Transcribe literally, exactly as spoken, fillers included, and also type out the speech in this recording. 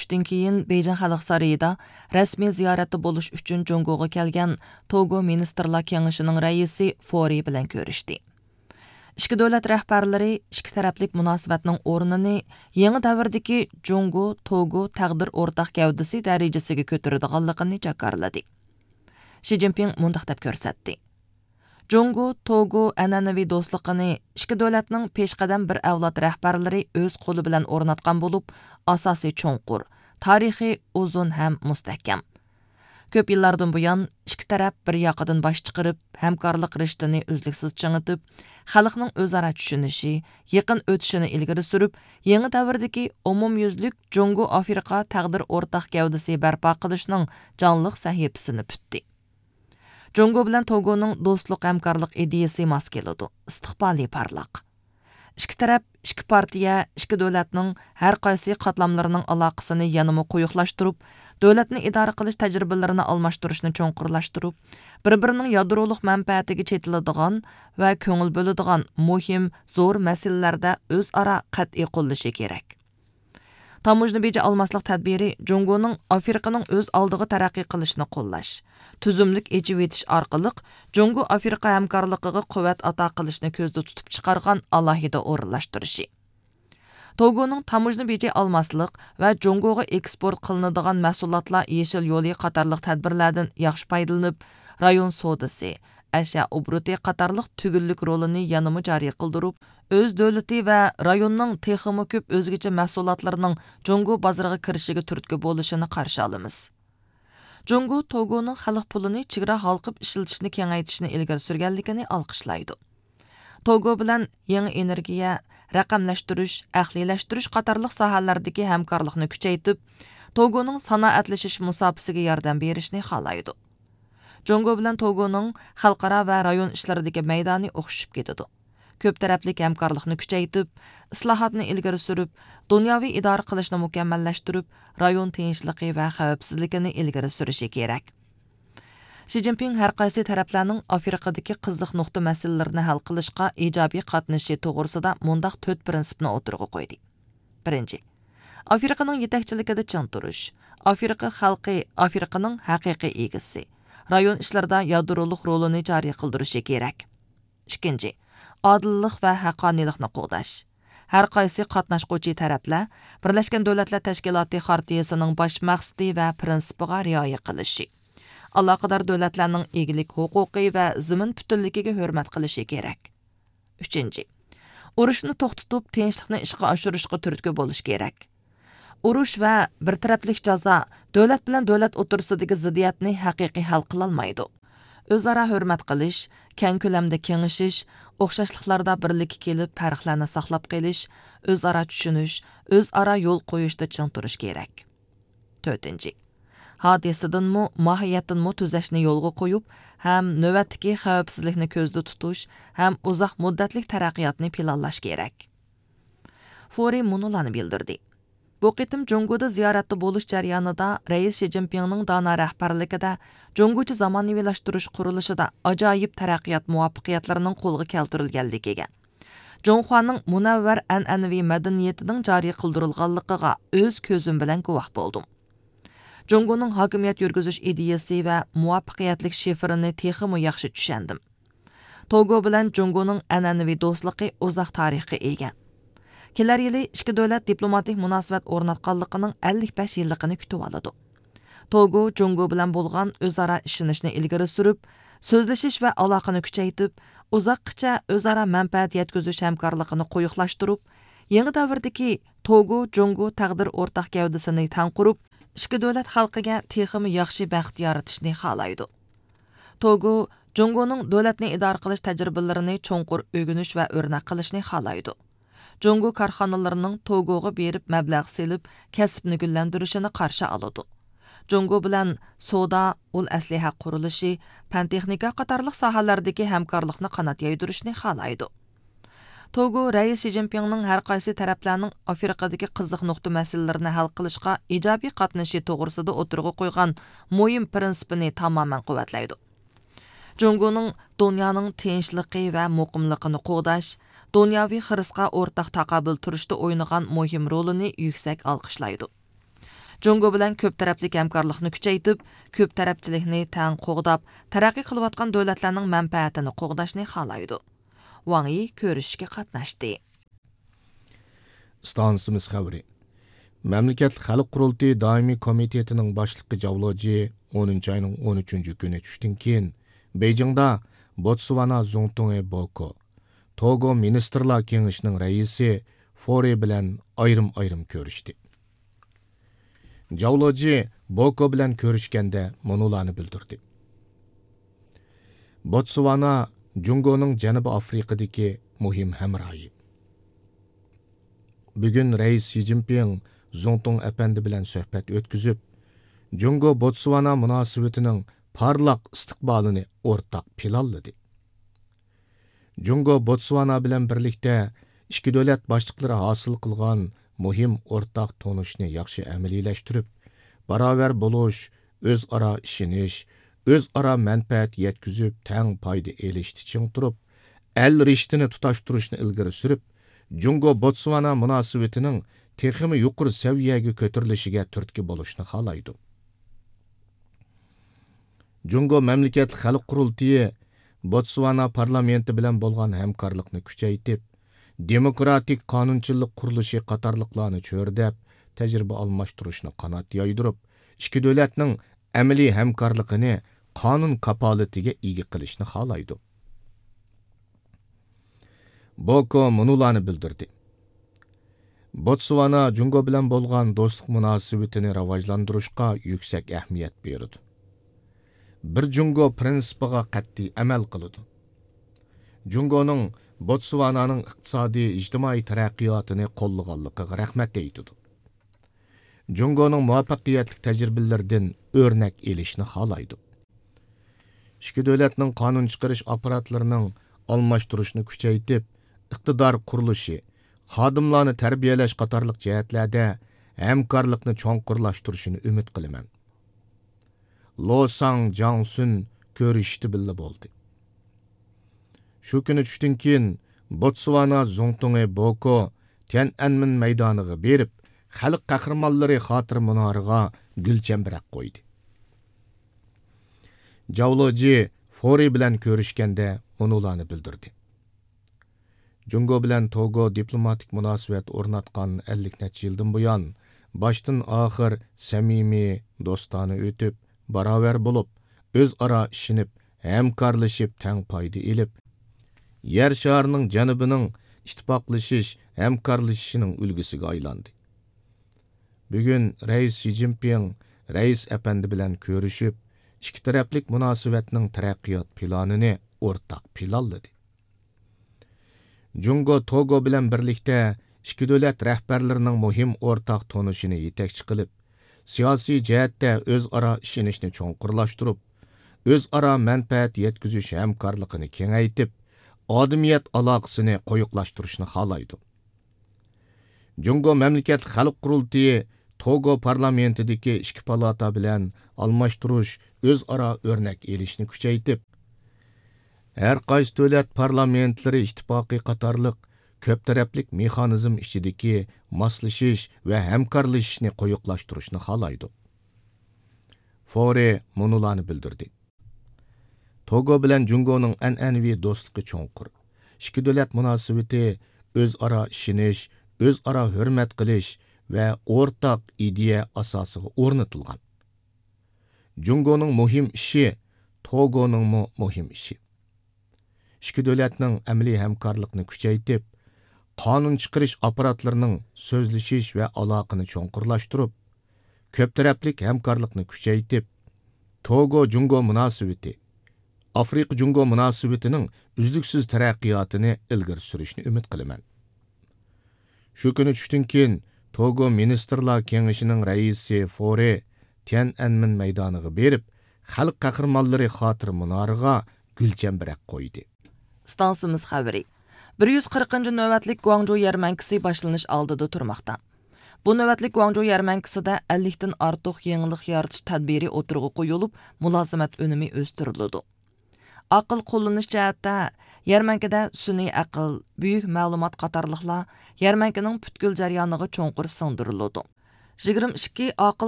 سۈپىتىدىن كېيىن، بېيجىڭ خەلق سارىيىدا رەسمىي زىيارەتتە بولۇش ئۈچۈن جۇڭگوغا كەلگەن توگو مىنىستىرلار كېڭىشىنىڭ رەئىسى فورى بىلەن كۆرۈشتى. ئىككى دۆلەت رەھبەرلىرى ئىككى تەرەپلىك مۇناسىۋەتنىڭ ئورنىنى يېڭى دەۋردىكى جۇڭگو توگو تەقدىر ئورتاق گەۋدىسى دەرىجىسىگە كۆتۈرىدىغانلىقىنى جاكارلىدى. شى جىنپىڭ مۇنداق دەپ كۆرسەتتى: جۇڭگو توگو ئەنئەنىۋى دوستلۇقىنى ئىككى دۆلەتنىڭ پېشقەدەم بىر ئەۋلاد رەھبەرلىرى ئۆز قولى بىلەن ئورناتقان بولۇپ، ئاساسى چوڭقۇر، تارىخى ئۇزۇن ھەم مۇستەھكەم. كۆپ يىللاردىن بۇيان، ئىككى تەرەپ بىر ياقىدىن باش چىقىرىپ، ھەمكارلىق رىشتىنى ئۈزلۈكسىز چىڭىتىپ، خەلقنىڭ ئۆزئارا چۈشىنىشى، يېقىن ئۆتۈشىنى ئىلگىرى سۈرۈپ، يېڭى دەۋردىكى ئومۇميۈزلۈك جۇڭگو ئافرىقا تەقدىر ئورتاق گەۋدىسى بەرپا قىلىشنىڭ جانلىق سەھىپىسىنى پۈتتى. جۇڭگو بىلەن توگونىڭ دوستلۇق ھەمكارلىق ئىدىيىسى ماس كېلىدۇ، ئىستىقبالى پارلاق. ئىككى تەرەپ، ئىككى پارتىيە، ئىككى دۆلەتنىڭ ھەر قايسى قاتلاملىرىنىڭ ئالاقىسىنى يەنىمۇ قويۇقلاشتۇرۇپ، دۆلەتنى ئىدارە قىلىش تەجرىبىلىرىنى ئالماشتۇرۇشنى چوڭقۇرلاشتۇرۇپ، بىر-بىرىنىڭ يادرولۇق مەنپەئەتىگە چېتىلىدىغان ۋە كۆڭۈل بۆلىدىغان مۇھىم، زور مەسىلىلەردە ئۆزئارا قەتئىي قوللىشى كېرەك. تاموژنا بېجى ئالماسلىق تەدبىرى جۇڭگونىڭ ئافرىقىنىڭ ئۆز ئالدىغا تەرەققىي قىلىشىنى قوللاش، تۈزۈملۈك ئېچىۋېتىش ئارقىلىق جۇڭگو ئافرىقا ھەمكارلىقىغا قۇۋۋەت ئاتا قىلىشنى كۆزدە تۇتۇپ چىقارغان ئالاھىدە ئورۇنلاشتۇرۇشى. توگونىڭ تاموژنا بېجى ئالماسلىق ۋە جۇڭگوغا ئېكسپورت قىلىنىدىغان مەھسۇلاتلار يېشىل يولى قاتارلىق تەدبىرلەردىن ياخشى پايدىلىنىپ، رايون سودىسى، ئەشيا ئوبوروتى قاتارلىق تۈگۈنلۈك رولىنى يەنىمۇ جارى قىلدۇرۇپ، ئۆز دۆلىتى ۋە رايوننىڭ تېخىمۇ كۆپ ئۆزگىچە مەھسۇلاتلىرىنىڭ جۇڭگو بازىرىغا كىرىشىگە تۈرتكە بولۇشىنى قارشى ئالىمىز. جۇڭگو توگونىڭ خەلق پۇلىنى چېگرا ھالقىپ ئىشلىتىشنى كېڭەيتىشنى ئىلگىرى سۈرگەنلىكىنى ئالقىشلايدۇ. توگو بىلەن يېڭى ئېنېرگىيە، رەقەملەشتۈرۈش، ئەقلىيلەشتۈرۈش قاتارلىق ساھەلەردىكى ھەمكارلىقنى كۈچەيتىپ، توگونىڭ سانائەتلىشىش مۇساپىسىگە ياردەم بېرىشنى خالايدۇ. جۇڭگو بىلەن توگونىڭ خەلقئارا ۋە رايون ئىشلىرىدىكى مەيدانى ئوخشىشىپ كېتىدۇ. كۆپ تەرەپلىك ھەمكارلىقنى كۈچەيتىپ، ئىسلاھاتنى ئىلگىرى سۈرۈپ، دۇنياۋى ئىدارە قىلىشنى مۇكەممەللەشتۈرۈپ، رايون تىنچلىقى ۋە خەۋپسىزلىكىنى ئىلگىرى سۈرۈشى كېرەك. شى جىنپىڭ ھەر قايسى تەرەپلەرنىڭ ئافرىقىدىكى قىزىق نۇقتا مەسىلىلىرىنى ھەل قىلىشقا ئىجابىي قاتنىشىشى توغرىسىدا مۇنداق تۆت پىرىنسىپنى ئوتتۇرىغا قويدى. بىرىنچى، ئافرىقىنىڭ يېتەكچىلىكىدە چىڭ تۇرۇش. ئافرىقا خەلقى ئافرىقىنىڭ ھەقىقىي ئىگىسى، رايون ئىشلىرىدا يادرولۇق رولىنى جارى قىلدۇرۇشى كېرەك. ئىككىنچى، ئادىللىق ۋە ھەققانىيلىقنى قوغداش. ھەر قايسى قاتناشقۇچى تەرەپلەر بىرلەشكەن دۆلەتلەر تەشكىلاتى خارتىيىسىنىڭ باش مەقسىتى ۋە پىرىنسىپىغا رىئايە قىلىشى، ئالاقىدار دۆلەتلەرنىڭ ئىگىلىك ھوقۇقى ۋە زېمىن پۈتۈنلۈكىگە ھۆرمەت قىلىشى كېرەك. ئۈچىنچى، ئۇرۇشنى توختىتىپ، تىنچلىقنى ئىشقا ئاشۇرۇشقا تۈرتكە بولۇش كېرەك. ئۇرۇش ۋە بىر تەرەپلىك جازا دۆلەت بىلەن دۆلەت ئوتتۇرىسىدىكى زىددىيەتنى ھەقىقىي ھەل قىلالمايدۇ. ئۆزئارا ھۆرمەت قىلىش، كەڭ كۆلەمدە كېڭىشىش، ئوخشاشلىقلاردا بىرلىككە كېلىپ، پەرقلەرنى ساقلاپ قېلىش، ئۆزئارا چۈشىنىش، ئۆزئارا يول قويۇشتا چىڭ تۇرۇش كېرەك. تۆتىنچى، ھادىسىدىنمۇ، ماھىيەتتىنمۇ تۈزەشنى يولغا قويۇپ، ھەم نۆۋەتتىكى خەۋپسىزلىكنى كۆزدە تۇتۇش ھەم ئۇزاق مۇددەتلىك تەرەققىياتنى پىلانلاش كېرەك. فورى مۇنۇلارنى بىلدۈردى: بۇ قېتىم جۇڭگودا زىيارەتتە بولۇش جەريانىدا رەئىس شى جىنپىڭنىڭ دانا رەھبەرلىكىدە جۇڭگوچە زامانىۋىلاشتۇرۇش قۇرۇلۇشىدا ئاجايىپ تەرەققىيات مۇۋەپپەقىيەتلىرىنىڭ قولغا كەلتۈرۈلگەنلىكىگە، جۇڭخۇانىڭ مۇنەۋۋەر ئەنئەنىۋى مەدەنىيىتىنىڭ جارى قىلدۇرۇلغانلىقىغا ئۆز كۆزۈم بىلەن گۇۋاھ بولدۇم. جۇڭگونىڭ ھاكىمىيەت يۈرگۈزۈش ئىدىيىسى ۋە مۇۋەپپەقىيەتلىك شىفىرىنى تېخىمۇ ياخشى چۈشەندىم. توگو بىلەن جۇڭگونىڭ ئەنئەنىۋى دوستلۇقى ئۇزاق تارىخقا ئىگە. كېلەر يىلى ئىككى دۆلەت دىپلوماتىك مۇناسىۋەت ئورناتقانلىقىنىڭ ئەللىك بەش يىللىقىنى كۈتۈۋالىدۇ. توگو جۇڭگو بىلەن بولغان ئۆزئارا ئىشىنىشنى ئىلگىرى سۈرۈپ، سۆزلىشىش ۋە ئالاقىنى كۈچەيتىپ، ئۇزاققىچە ئۆزئارا مەنپەئەت يەتكۈزۈش ھەمكارلىقىنى قويۇقلاشتۇرۇپ، يېڭى دەۋردىكى توگو جۇڭگو تەقدىر ئورتاق گەۋدىسىنى تەڭ قۇرۇپ، ئىككى دۆلەت خەلقىگە تېخىمۇ ياخشى بەخت يارىتىشنى خالايدۇ. توگو جۇڭگونىڭ دۆلەتنى ئىدارە قىلىش تەجرىبىلىرىنى چوڭقۇر ئۆگىنىش ۋە ئۆرنەك قىلىشنى خالايدۇ. جۇڭگو كارخانىلىرىنىڭ توگوغا بېرىپ مەبلەغ سېلىپ، كەسىپنى گۈللەندۈرۈشىنى قارشى ئالىدۇ. جۇڭگو بىلەن سودا، ئۇل ئەسلىھە قۇرۇلۇشى، پەن تېخنىكا قاتارلىق ساھەلەردىكى ھەمكارلىقنى قانات يايدۇرۇشنى خالايدۇ. توگو رەئىس شى جىنپىڭنىڭ ھەر قايسى تەرەپلەرنىڭ ئافرىقىدىكى قىزىق نۇقتا مەسىلىلىرىنى ھەل قىلىشقا ئىجابىي قاتنىشىشى توغرىسىدا ئوتتۇرىغا قويغان مۇھىم پىرىنسىپىنى تامامەن قۇۋۋەتلەيدۇ. جۇڭگونىڭ دۇنيانىڭ تىنچلىقى ۋە مۇقىملىقىنى قوغداش، دۇنياۋى خىرىسقا ئورتاق تاقابىل تۇرۇشتا ئوينىغان مۇھىم رولىنى يۈكسەك ئالقىشلايدۇ. جۇڭگو بىلەن كۆپ تەرەپلىك ھەمكارلىقنى كۈچەيتىپ، كۆپ تەرەپچىلىكنى تەڭ قوغداپ، تەرەققىي قىلىۋاتقان دۆلەتلەرنىڭ مەنپەئەتىنى قوغداشنى خالايدۇ. ۋاڭ يى كۆرۈشۈشكە قاتناشتى. ئىستانسىمىز خەۋىرى. مەملىكەتلىك خەلق قۇرۇلتىيى دائىمىي كومىتېتىنىڭ باشلىقى جاۋ لېجى ئونىنچى ئاينىڭ ئون ئۈچىنچى كۈنى چۈشتىن كېيىن بېيجىڭدا بوتسۋانا زۇڭتۇڭى بوكو، توگو مىنىستىرلار كېڭىشىنىڭ رەئىسى فورى بىلەن ئايرىم-ئايرىم كۆرۈشتى. جاۋ لېجى بوكو بىلەن كۆرۈشكەندە مۇنۇلارنى بىلدۈردى. بوتسۋانا جۇڭگونىڭ جەنۇبىي ئافرىقىدىكى مۇھىم ھەمراھى. بۈگۈن رەئىس شى جىنپىڭ زۇڭتۇڭ ئەپەندى بىلەن سۆھبەت ئۆتكۈزۈپ، جۇڭگو بوتسۋانا مۇناسىۋىتىنىڭ پارلاق ئىستىقبالىنى ئورتاق پىلانلىدى. جۇڭگو بوتسۋانا بىلەن بىرلىكتە ئىككى دۆلەت باشلىقلىرى ھاسىل قىلغان مۇھىم ئورتاق تونۇشنى ياخشى ئەمەلىيلەشتۈرۈپ، باراۋەر بولۇش، ئۆزئارا ئىشىنىش، ئۆزئارا مەنپەئەت يەتكۈزۈپ، تەڭ پايدا ئېلىشتا چىڭ تۇرۇپ، ئەل رىشتىنى تۇتاشتۇرۇشنى ئىلگىرى سۈرۈپ، جۇڭگو بوتسۋانا مۇناسىۋىتىنىڭ تېخىمۇ يۇقىرى سەۋىيەگە كۆتۈرۈلۈشىگە تۈرتكە بولۇشنى خالايدۇ. جۇڭگو مەملىكەتلىك خەلق قۇرۇلتىيى بوتسۋانا پارلامېنتى بىلەن بولغان ھەمكارلىقنى كۈچەيتىپ، دېموكراتىك قانۇنچىلىق قۇرۇلۇشى قاتارلىقلارنى چۆرىدەپ، تەجرىبە ئالماشتۇرۇشنى قانات يايدۇرۇپ، ئىككى دۆلەتنىڭ ئەمەلىي ھەمكارلىقىنى قانۇن كاپالىتىگە ئىگە قىلىشنى خالايدۇ. بوكو مۇنۇلارنى بىلدۈردى. بوتسۋانا جۇڭگو بىلەن بولغان دوستلۇق مۇناسىۋىتىنى راۋاجلاندۇرۇشقا يۈكسەك ئەھمىيەت بېرىدۇ. بىر جۇڭگو پىرىنسىپىغا قەتئىي ئەمەل قىلىدۇ. جۇڭگونىڭ بوتسۋانانىڭ ئىقتىسادىي، ئىجتىمائىي تەرەققىياتىنى قوللىغانلىقىغا رەھمەت ئېيتىدۇ. جۇڭگونىڭ مۇۋەپپەقىيەتلىك تەجرىبىلىرىدىن ئۆرنەك ئېلىشنى خالايدۇ. ئىككى دۆلەتنىڭ قانۇن چىقىرىش ئاپپاراتلىرىنىڭ ئالماشتۇرۇشىنى كۈچەيتىپ، ئىقتىدار قۇرۇلۇشى، خادىملارنى تەربىيەلەش قاتارلىق جەھەتلەردە ھەمكارلىقنى چوڭقۇرلاشتۇرۇشىنى ئۈمىد قىلىمەن. لو ساڭ جاڭ سۈن كۆرۈشۈشتە بىللە بولدى. شۇ كۈنى چۈشتىن كېيىن بوتسۋانا زۇڭتۇڭى بوكو تيەنئەنمېن مەيدانىغا بېرىپ، خەلق قەھرىمانلىرى خاتىرە مۇنارىغا گۈل چەمبىرەك قويدى. جاۋ لېجى فورى بىلەن كۆرۈشكەندە مۇنۇلارنى بىلدۈردى. جۇڭگو بىلەن توگو دىپلوماتىك مۇناسىۋەت ئورناتقان ئەللىك نەچچە يىلدىن بۇيان، باشتىن ئاخىر سەمىمىي، دوستانە ئۆتۈپ، باراۋەر بولۇپ، ئۆزئارا ئىشىنىپ، ھەمكارلىشىپ، تەڭ پايدا ئېلىپ، يەر شارىنىڭ جەنۇبىنىڭ ئىتتىپاقلىشىش، ھەمكارلىشىشىنىڭ ئۈلگىسىگە ئايلاندى. بۈگۈن رەئىس شى جىنپىڭ رەئىس ئەپەندى بىلەن كۆرۈشۈپ، ئىككى تەرەپلىك مۇناسىۋەتنىڭ تەرەققىيات پىلانىنى ئورتاق پىلانلىدى. جۇڭگو توگو بىلەن بىرلىكتە ئىككى دۆلەت رەھبەرلىرىنىڭ مۇھىم ئورتاق تونۇشىنى يېتەكچى قىلىپ، سىياسىي جەھەتتە ئۆزئارا ئىشىنىشنى چوڭقۇرلاشتۇرۇپ، ئۆزئارا مەنپەئەت يەتكۈزۈش ھەمكارلىقىنى كېڭەيتىپ، ئادىمىيەت ئالاقىسىنى قويۇقلاشتۇرۇشنى خالايدۇ. جۇڭگو مەملىكەتلىك خەلق قۇرۇلتىيى توگو پارلامېنتىدىكى ئىككى پالاتا بىلەن ئالماشتۇرۇش، ئۆزئارا ئۆرنەك ئېلىشنى كۈچەيتىپ، ھەر قايسى دۆلەت پارلامېنتلىرى ئىتتىپاقى قاتارلىق كۆپ تەرەپلىك مېخانىزم ئىچىدىكى ماسلىشىش ۋە ھەمكارلىشىشنى قويۇقلاشتۇرۇشنى خالايدۇ. فورى مۇنۇلارنى بىلدۈردى. توگو بىلەن جۇڭگونىڭ ئەنئەنىۋى دوستلۇقى چوڭقۇر. ئىككى دۆلەت مۇناسىۋىتى ئۆزئارا ئىشىنىش، ئۆزئارا ھۆرمەت قىلىش ۋە ئورتاق ئىدىيە ئاساسىغا ئورنىتىلغان. جۇڭگونىڭ مۇھىم ئىشى توگونىڭمۇ مۇھىم ئىشى. ئىككى دۆلەتنىڭ ئەمەلىي ھەمكارلىقنى كۈچەيتىپ، قانۇن چىقىرىش ئاپپاراتلىرىنىڭ سۆزلىشىش ۋە ئالاقىنى چوڭقۇرلاشتۇرۇپ، كۆپ تەرەپلىك ھەمكارلىقنى كۈچەيتىپ، توگو جۇڭگو مۇناسىۋىتى، ئافرىقا جۇڭگو مۇناسىۋىتىنىڭ ئۈزلۈكسىز تەرەققىياتىنى ئىلگىرى سۈرۈشنى ئۈمىد قىلىمەن. شۇ كۈنى چۈشتىن كېيىن توگو مىنىستىرلار كېڭىشىنىڭ رەئىسى فورى تيەنئەنمېن مەيدانىغا بېرىپ، خەلق قەھرىمانلىرى خاتىرە مۇنارىغا گۈل چەمبىرەك قويدى. ئىستانسىمىز خەۋىرى. بىر يۈز قىرىقىنچى نۆۋەتلىك گۇاڭجۇ يەرمەنكىسى باشلىنىش ئالدىدا تۇرماقتا. بۇ نۆۋەتلىك گۇاڭجۇ يەرمەنكىسىدە ئەللىكتىن ئارتۇق يېڭىلىق يارىتىش تەدبىرى ئوتتۇرىغا قويۇلۇپ، مۇلازىمەت ئۈنۈمى ئۆستۈرۈلىدۇ. ئاقىل قوللىنىش جەھەتتە، يەرمەنكىدە سۈنئىي ئەقىل، بۈيۈك مەلۇمات قاتارلىقلار يەرمەنكىنىڭ پۈتكۈل جەريانىغا چوڭقۇر سىڭدۈرۈلىدۇ. يىگىرمە ئىككى ئاقىل